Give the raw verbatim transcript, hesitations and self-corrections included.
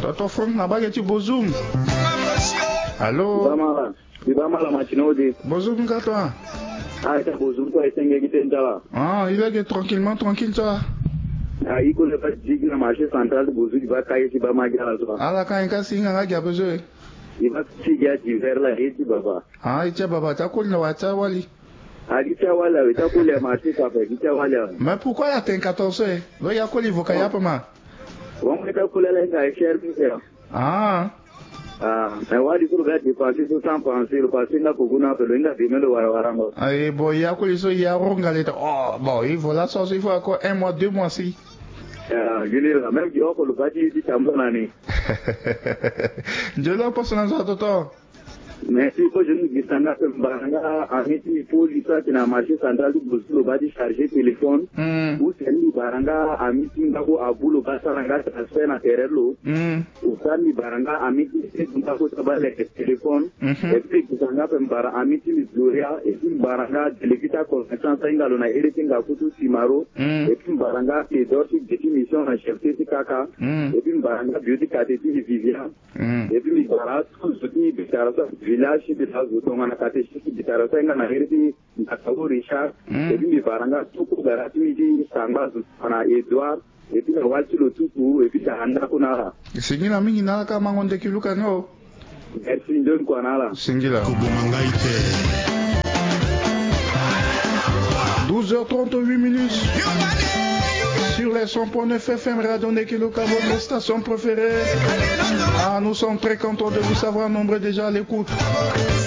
Toto Frank na bage ti Bozum. Allô? Bamala. Di bamala matino di. Bozum ka toi? Ah, ita Bozum toi, ita nge gi ten tala. Ah, il est que tranquillement tranquille toi. Ah, i kole ba digi na marché central de Bozum, i ba kaye ti ba ma gi ala toi. Ala ka i ka si nga nga gi a besoin. I ba si gi a divers la, e ti baba. Ah, i ti a baba, ta koli na wa ta wali. Ah, i ti a wali awe, ta koli a marché ka pe, i ti a wali awe. Mais pourquoi la ten quatorze, eh? Lo ya koli voka ya pe ma. Wango ita koli ala hinga e cher mi ya. Ah. Ah, mais wali so lo ga dépenser so sans penser, lo penser nga kogo na pe lo hinga demain lo wara warango. Aye, bon, ya koli so ya ronga leta. Oh, bon, il faut la sauce, il faut encore un mois, deux mois si. Ah, gini la, même gi oko lo ba ti, ti tambula na ni. Nzoni aposo na nzo atoto. Merci. Ko jeune gi sanga pe mbara nga ami ti Paul Issa ti na marché central ti Bozum lo ba ti charger téléphone. Mm. Ou c'est ni mbara nga ami ti nga ko abu lo ba sara nga transfert na terrain lo. Mm. Ou sa ni mbara nga ami ti Seydou nga ko sa ba leke téléphone. Mhm. Et puis gi sanga pe mbara ami ti mi Gloria, et puis mbara nga délégué ti aconvention sa hinga lo na ere ti nga kutu Simaro. Mm. Et puis mbara nga Théodore ti gbe ti mission na chef ti kaka. Mm. Et puis mbara nga bio ti kate ti Vivian. Mm. Et puis mbi bara tout zo ti mbi tara so village ti mbi la zo tongana catéchiste mbi tara so ahinga na iri ti Ndakau Richard. Mm. Et puis mbi bara nga tout kodara ti mbi ti sangba zo tongana Edouard. Et puis na wali ti lo tutu, et puis tara ndako na ala. Singila mingi na ala ka mango ndeki luka ni o. Merci, nzoni kua na ala. Singila. Koboma ngai te. Douze heures trente-huit minutes. Sur les cent point neuf F M, Radio Nekiluka, votre station préférée. Ah, nous sommes très contents de vous savoir nombreux déjà à l'écoute.